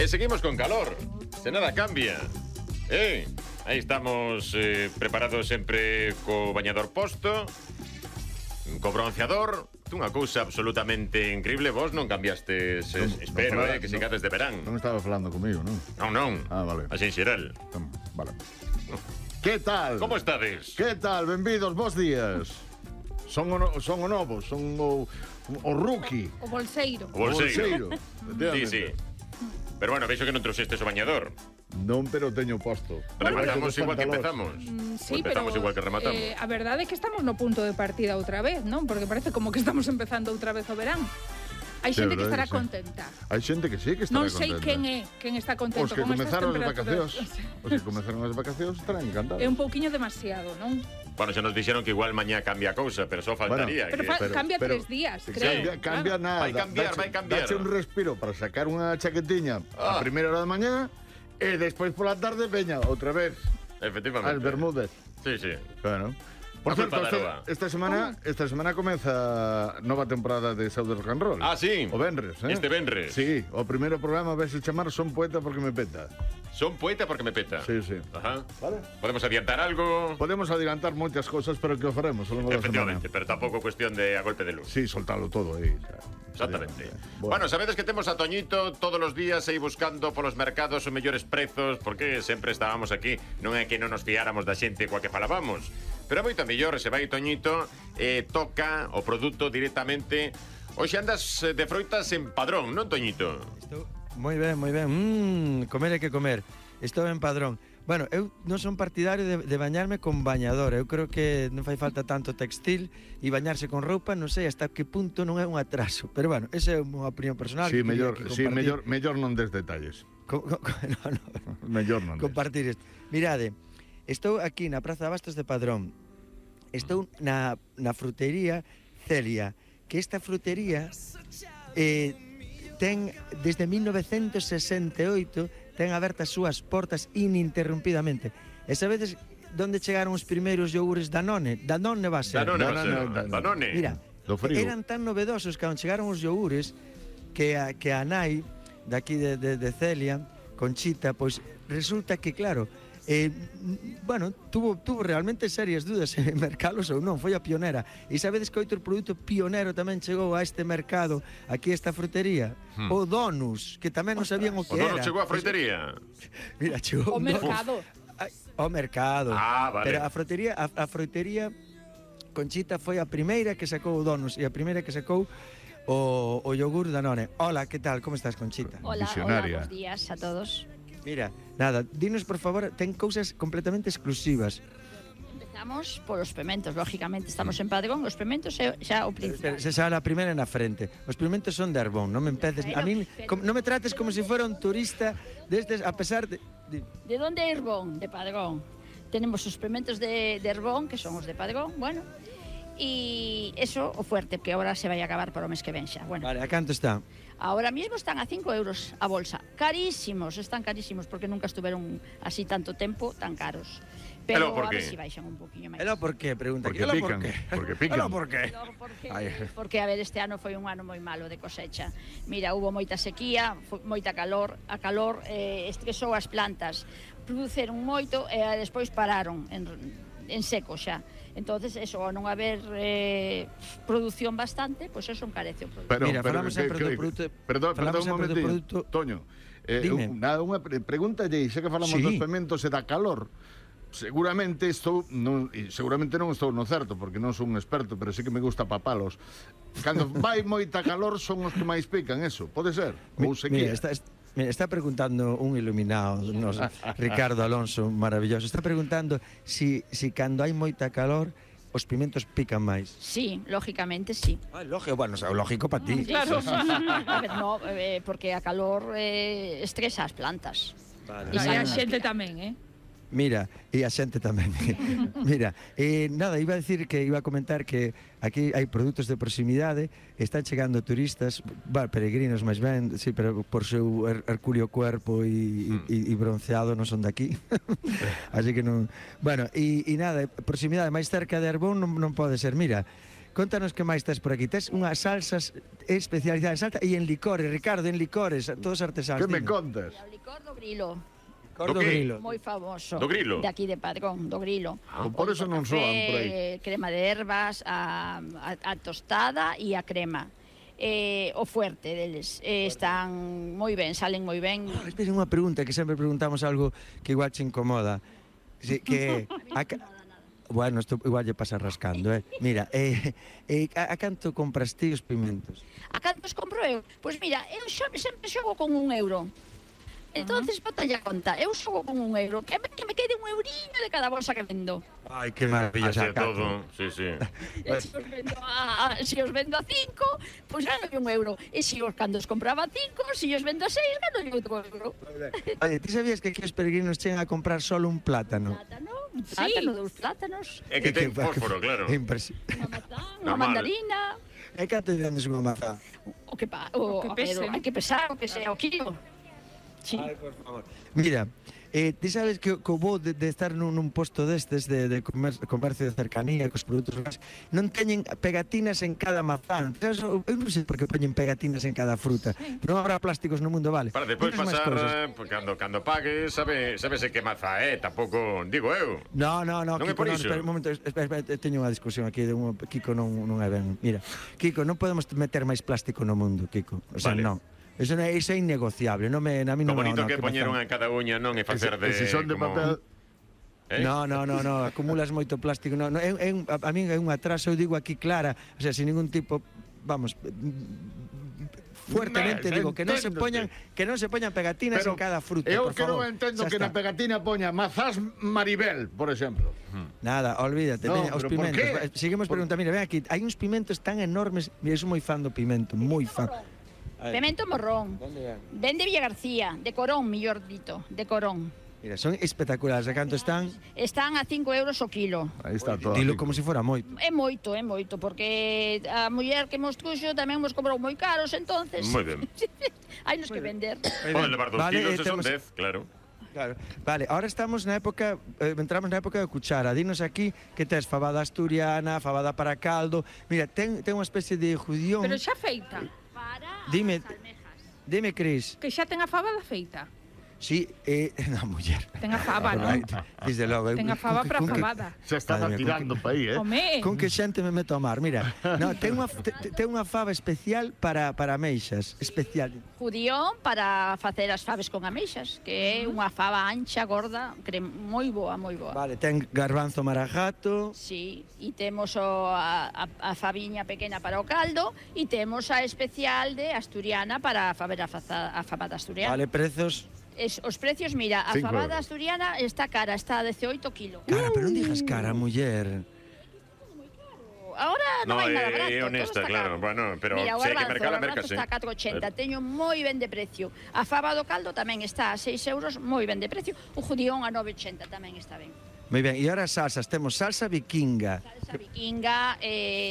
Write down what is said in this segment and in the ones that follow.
E seguimos con calor. Se nada cambia. Aí estamos preparados sempre co bañador posto, co bronceador. Unha cousa absolutamente increíble. Vos non cambiastes, espero, que sigades de verán. Non estaba falando comigo, non? Non. Ah, vale. Así en xeral. Vale. Que tal? Como estades? Que tal? Benvidos, bons días. Son o novo, son o rookie. O bolseiro. O bolseiro. Sí. Pero bueno, veixo que non trouxestes o bañador. Non, pero teño posto. Rematamos igual que empezamos. Sí, empezamos igual que rematamos. A verdade é que estamos no punto de partida outra vez, non? Porque parece como que estamos empezando outra vez o verán. Hai xente que estará contenta. Hai xente que sí que estará contenta. Non sei quen está contento Os que con estas comezaron as temperaturas. vacacións. Os que comezaron as vacacións estarán encantados. É un pouquiño demasiado, non? Bueno, xa nos dixeron que igual mañá cambia a cousa, pero só faltaría. Pero cambia 3 días, creo. Cambia nada. Vai cambiar. Dache un respiro para sacar unha chaquetiña a primeira hora da mañá e despois pola tarde veña outra vez. Efectivamente. As Bermudes. Sí. Claro. Por certo, esta semana comeza nova temporada de Saúde Rock and Roll. Ah, sí. O venres, Este venres. Sí, o primeiro programa vais a chamar Son poeta porque me peta. Son poeta porque me peta. Sí. Ajá. Vale. Podemos adiantar algo. Podemos adiantar moitas cousas, pero que o faremos ao longo da semana. Efectivamente, pero tampouco cuestión de a golpe de luz. Sí, soltalo todo aí. Exactamente. Bueno, sabedes que temos a Toñito todos os días aí buscando polos mercados os mellores prezos, porque sempre estábamos aquí. Non é que non nos fiáramos da xente coa que falábamos, pero é moito mellor se vai Toñito e toca o produto directamente. Hoxe andas de froitas en Padrón, non, Toñito? Estou moi ben. Comer é que comer. Estou en Padrón. Bueno, eu non son partidario de bañarme con bañador. Eu creo que non fai falta tanto textil e bañarse con roupa, non sei hasta que punto non é un atraso. Pero bueno, esa é unha opinión personal. Sí, mellor non des detalles. Mellor non des. Compartir isto. Mirade, estou aquí na Praza de Abastos de Padrón. Estou na frutería Celia, que esta frutería ten desde 1968 ten abertas as súas portas ininterrumpidamente. E sabedes onde chegaron os primeiros iogures Danone? Danone va a ser. Danone. Mira, eran tan novedosos que chegaron os iogures que a nai daqui de Celia, Conchita, pois resulta que, claro, tuvo realmente serias dudas en mercalos ou non, foi a pionera. E sabedes que outro produto pionero tamén chegou a este mercado, aquí esta frutería? O Donus, que tamén non sabían o que era. O Donus chegou a frutería? Mira, chegou o mercado. O mercado. Ah, vale. Pero a frutería Conchita foi a primeira que sacou o Donus e a primeira que sacou o yogur Danone. Hola, que tal? Como estás, Conchita? Hola, bons días a todos. Mira, nada, dinos por favor, ten cousas completamente exclusivas. Empezamos polos pementos, lógicamente, estamos en Padrón, os pementos é xa o principal. Se xa a primeira na frente. Os pementos son de Arbón, non me empeces, a min non me trates como se fora un turista destes, a pesar de... De onde é Arbón? De Padrón. Tenemos os pementos de Arbón, que son os de Padrón, bueno, e eso o fuerte, que agora se vai a acabar para o mes que ven xa. Bueno. Vale, a canto está? Ahora mismo están a 5 euros a bolsa. Carísimos, están carísimos, porque nunca estuveron así tanto tempo tan caros. Pero a ver si baixan un poquinho máis. Elo por qué? Pregunta. Porque pican. Porque pican. Elo por qué? Porque, a ver, este ano foi un ano moi malo de cosecha. Mira, hubo moita sequía, moita calor. A calor estresou as plantas. Produceron moito e despois pararon en seco xa. Entonces, eso, ao non haber produción bastante, pois eso encarece o produto. Mira, falamos sempre do produto. Perdón un momentinho, Toño. Unha pregunta lle, xa que falamos dos pementos e da calor. Seguramente non estou no certo, porque non son un experto, pero sí que me gusta papalos. Cando vai moita calor son os que máis pican, eso, pode ser? Ou sequía? Mira, está preguntando un iluminado, Ricardo Alonso, maravilloso. Está preguntando si cando hai moita calor os pimentos pican máis. Sí, lógicamente sí. Lógico, bueno, lógico para ti. Claro. A ver, no, porque a calor estresa as plantas. Vale. E a xente tamén, Mira, e a xente tamén. Mira, nada, iba a decir que iba a comentar que aquí hai produtos de proximidade, están chegando turistas, peregrinos máis ben, sí, pero por seu hercúleo cuerpo e bronceado non son daqui. Así que non... Bueno, e nada, proximidade máis cerca de Arbón non pode ser. Mira, contanos que máis tes por aquí. Tes unhas salsas especializadas en Salta e en licores, Ricardo, en licores, todos artesanos. Que me contas? O licor do Grilo. Licor do Grilo. Moi famoso. Do Grilo? De aquí de Padrón, do Grilo. Por eso non soan por aí. Crema de ervas, a tostada e a crema. O fuerte deles. Están moi ben, salen moi ben. Espera, unha pregunta, que sempre preguntamos algo que igual che incomoda. Que bueno, isto igual lle pasa rascando, Mira, a canto compras ti os pimentos? A cantos compro eu? Pois mira, eu sempre xogo con €1. Entonces, botalla a conta, eu xogo con €1, que me quede €1 de cada bolsa que vendo. Ai, que maravillosa. Así todo, sí. Se os vendo a 5, pois gano €1. E se os cando os compraba a 5, se os vendo a 6, gano €1. Oye, ti sabías que aquí os peregrinos chegan a comprar solo un plátano? Plátano, 2 plátanos. É que ten fósforo, claro. Unha mazán, unha mandarina. E canto vendes unha mazá? O que pese. Hai que pesar, o que sea o kilo. Sí. Ay, por favor. Mira, ti sabes que o bo de estar nun posto destes de comercio de cercanía cos produtos locais non teñen pegatinas en cada mazán. Eu non sei por que poñen pegatinas en cada fruta. Non habrá plásticos no mundo, vale. Para despois pasar, cando pagues, sabese que mazá tampouco, digo eu. No, non é por iso. Espera un momento, espera, teño unha discusión aquí de Kiko non é ben. Mira, Kiko, non podemos meter máis plástico no mundo, Kiko. O sea, non. Eso é innegociable, a mí non me... O bonito que poñeron a cada uña non é facer de... Se son de papel... No, acumulas moito plástico. A min é un atraso, eu digo aquí clara, o sea, sin ningún tipo, vamos, fuertemente digo que non se poñan pegatinas en cada fruta, por favor. Eu que non entendo que na pegatina poña mazás Maribel, por exemplo. Nada, olvídate, os pimentos. Seguimos preguntando, mira, ven aquí, hai uns pimentos tan enormes, eu sou moi fan do pimento, moi fan. Pimento morrón. Ven de Villa García, de Corón, mellor dito, de Corón. Mira, son espectaculares. A canto están? Están a €5 o kilo. Aí está todo. Dilo como se fora moito. É moito, porque a muller que mos truxo tamén mos cobrou moi caros, entonces... Moi ben. Hai nos que vender. Pode levar 2 kilos e son 10, claro. Claro. Vale, ahora estamos na época, entramos na época de cuchara. Dinos aquí que tes fabada asturiana, fabada para caldo. Mira, ten unha especie de judión. Pero xa feita. Dime, Cris. Que xa ten a fabada feita. Sí, na muller. Ten a faba, non? Desde logo. Ten a faba para a fabada. Se está tirando pa aí, Home. Con que xente me meto a mar, mira. No, ten unha fava especial para ameixas, especial. Judión para facer as faves con ameixas, que é unha fava ancha, gorda, moi boa, moi boa. Vale, ten garbanzo marajato. Sí, e temos a faviña pequena para o caldo e temos a especial de asturiana para faver a fabada asturiana. Vale, prezos... Os precios, mira, a fabada asturiana está cara, está a 18 kilos. Cara, pero non digas cara, muller. Ahora non hai nada barato. É honesta, claro. Bueno, pero mira, se hai que mercar, mercase. Está a 4,80, teño moi ben de precio. A faba do caldo tamén está a 6 €, moi ben de precio. O judión a 9,80 tamén está ben. Moi ben, e ahora salsas, temos salsa vikinga. Salsa vikinga,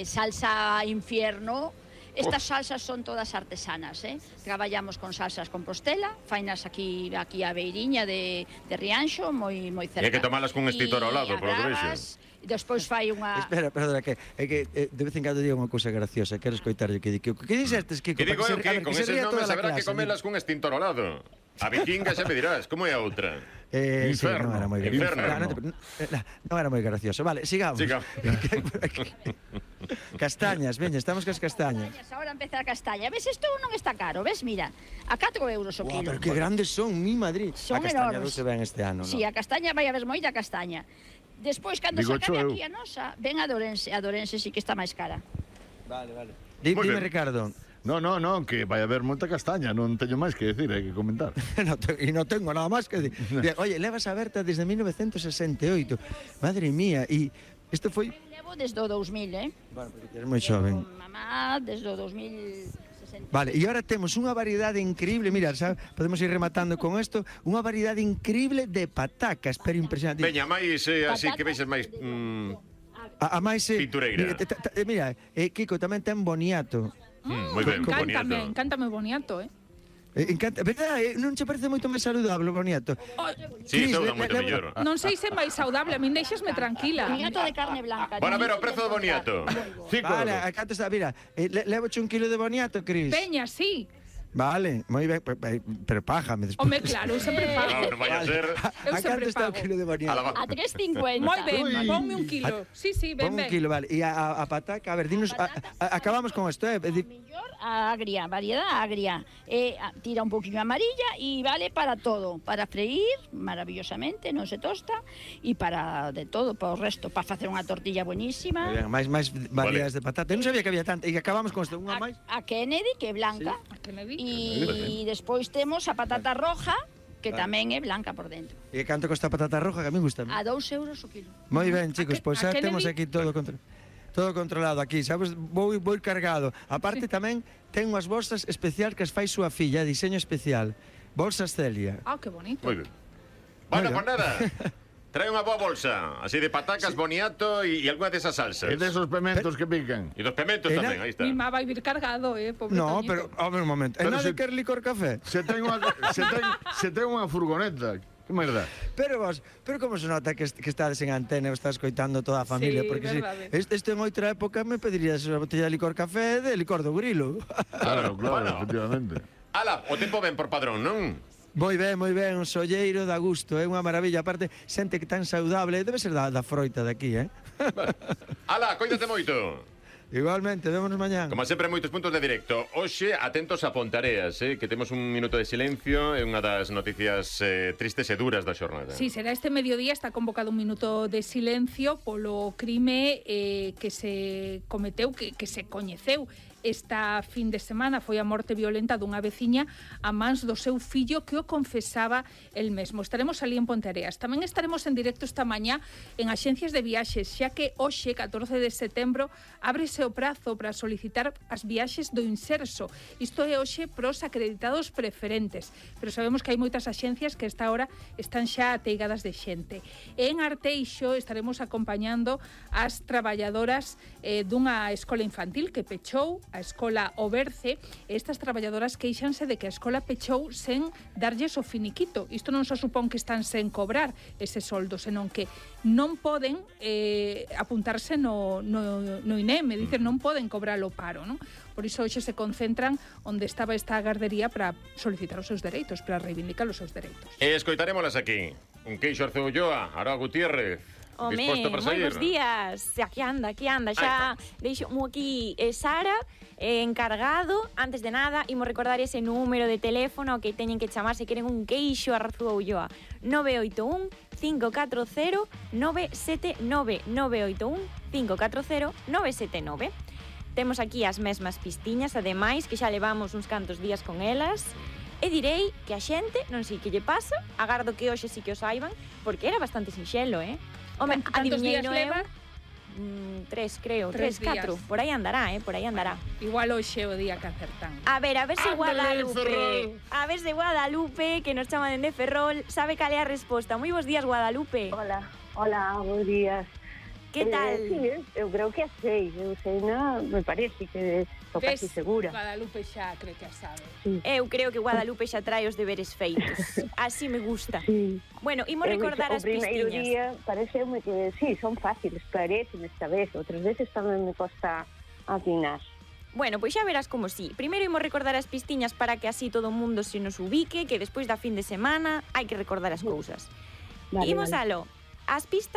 salsa infierno. Estas salsas son todas artesanas, Traballamos con salsas Compostela, fainas aquí a beiriña de Rianxo, moi cerca. E hai que tomalas cun extintor ao lado, polo que vexo. Despois fai unha... Espera, perdona, que de vez en cando digo unha cousa graciosa, quero escoitarlle que di, que dixestes, Kiko? Que digo eu que con eses nomes haberá que comelas cun extintor ao lado. A vikinga xa me dirás, como é a outra? Inferno. Sí, non era moi gracioso. Non era moi gracioso. Vale, sigamos. Castañas, veña, estamos cas castañas. Ahora empeza a castaña. Ves, isto non está caro, ves, mira, a 4 € o kilo. Pero que grandes son, mi Madrid. Son a castaña enormes. se ven este ano, Sí, a castaña vai haber moita castaña. Despois, cando sacan aquí a nosa, ven a Dorense sí que está máis cara. Vale. Dime, Ricardo. No, que vai haber moita castaña, non teño máis que decir, hai que comentar. E non tengo nada máis que decir. Oye, levas aberta desde 1968. Madre mía, e isto foi... Levo desde o 2000, Bueno, porque eres moi xoven. Mamá, desde o 2060. Vale, e agora temos unha variedade increíble, mira, ¿sabes? Podemos ir rematando con isto, unha variedade increíble de patacas, pero impresionante. Veña, máis así que vexes máis... A máis... Pintureira. Mira, Kiko tamén ten boniato. Moi ben, boniato. Encántame o boniato, Encanta, verdade, non che parece moito máis saludable o boniato? Sí, sauda moito mellor. Non sei se é máis saudable, a min deixasme tranquila. Boniato de carne blanca. Bueno, a ver, o prezo do boniato. Vale, a canto está, mira, levoche 1 kilo de boniato, Cris. Peña, sí. Vale, moi ben, pero págame despois. Home, claro, eu sempre pago. Non vai a ser... Eu A canto sempre está o pago. kilo de boniato? A 3,50. Moi ben, ponme 1 kilo. Sí, ben, Pon 1 ben. kilo, vale. E a pataca, a ver, dinos, acabamos con isto, Mellor agria, variedad agria. Tira un poquinho amarilla e vale para todo. Para freír, maravillosamente, non se tosta. E para de todo, para o resto, para facer unha tortilla buenísima. máis variedades de patata. Eu non sabía que había tanta. E acabamos con isto, unha máis. A Kennedy, que é blanca. E despois temos a patata roja, que tamén é blanca por dentro. E canto costa a patata roja, que a mí gusta. A 2 euros o kilo. Moi ben, chicos, pois xa Kennedy? temos aquí todo controlado aquí, sabes? Vou ir cargado. Aparte tamén ten unhas bolsas especial que as fai súa filla, diseño especial. Bolsas Celia. Ah, que bonito. Moi ben. Bueno, pues nada. Trae unha boa bolsa, así de patacas, boniato e algunha desas salsas. E desos pementos que pican. E dos pementos tamén, aí está. Mi má vai vir cargado, pobre No, Toñito. pero, a ver un momento. E Pero nada se- quer licor café? Se ten unha furgoneta. Que merda. Pero vos, como se nota que estades en antena e estás coitando toda a familia? Sí, Porque verdade. Isto en outra época me pedirías unha botella de licor café de licor do grilo. Claro, Bueno. efectivamente. Ala, o tempo ben por padrón, non? Moi ben, un solleiro da gusto, é unha maravilla. Aparte, xente que tan saudable, debe ser da froita de aquí, Ala, coídate moito. Igualmente, vémonos mañán. Como sempre, moitos puntos de directo. Hoxe, atentos a Pontareas, que temos un minuto de silencio e unha das noticias tristes e duras da xornada. Sí, será este mediodía, está convocado un minuto de silencio polo crime que se cometeu, que se coñeceu esta fin de semana. Foi a morte violenta dunha veciña a mans do seu fillo que o confesaba el mesmo. Estaremos ali en Ponteareas. Tamén estaremos en directo esta mañá en axencias de viaxes, xa que hoxe, 14 de setembro, ábrese o prazo para solicitar as viaxes do Inserso. Isto é hoxe pros acreditados preferentes, pero sabemos que hai moitas axencias que a esta hora están xa ateigadas de xente. En Arteixo estaremos acompañando as traballadoras dunha escola infantil que pechou, a escola Oberce. Estas traballadoras queixanse de que a escola pechou sen darlles o finiquito. Isto non só supón que están sen cobrar ese soldo, senón que non poden apuntarse no INEM, é dicir, non poden cobrar o paro, non? Por iso hoxe se concentran onde estaba esta gardería para solicitar os seus dereitos, para reivindicar os seus dereitos. E escoitarémolas aquí. Un queixo Arceo Ulloa, Arao Gutiérrez. Home, moi bons días. Aquí anda. Xa deixo aquí Sara, encargado. Antes de nada, imos recordar ese número de teléfono ao que teñen que chamar se queren un queixo a Arceo Ulloa. 981 540 979 981 540 979. Temos aquí as mesmas pistiñas, ademais, que xa levamos uns cantos días con elas. E direi que a xente, non sei que lle pasa, agardo que hoxe sí que o saiban, porque era bastante sinxelo, Home, Cantos días adiviñeino leva? 3, creo, 3, 4. Por aí andará, por aí andará. Igual hoxe é o día que acertan. A ver se Ándale, Guadalupe. Ferrol. A ver se Guadalupe, que nos chama dende Ferrol, sabe cal é a resposta. Moi bons días, Guadalupe. Hola, bons días. Que tal? Sí, eu creo que a sei, me parece que estou casi segura. Guadalupe xa creo que a sabe. Eu creo que Guadalupe xa trae os deberes feitos. Así me gusta. Sí. Bueno, imos recordar as pistiñas. O primeiro pistiñas. día pareceume que sí, son fáciles, parecen esta vez, outras veces tamén me costa atinar. Bueno, pois xa verás como sí. Primeiro imos recordar as pistiñas para que así todo o mundo se nos ubique, que despois da fin de semana hai que recordar as cousas. Vale, Imos vale. alo. As pistas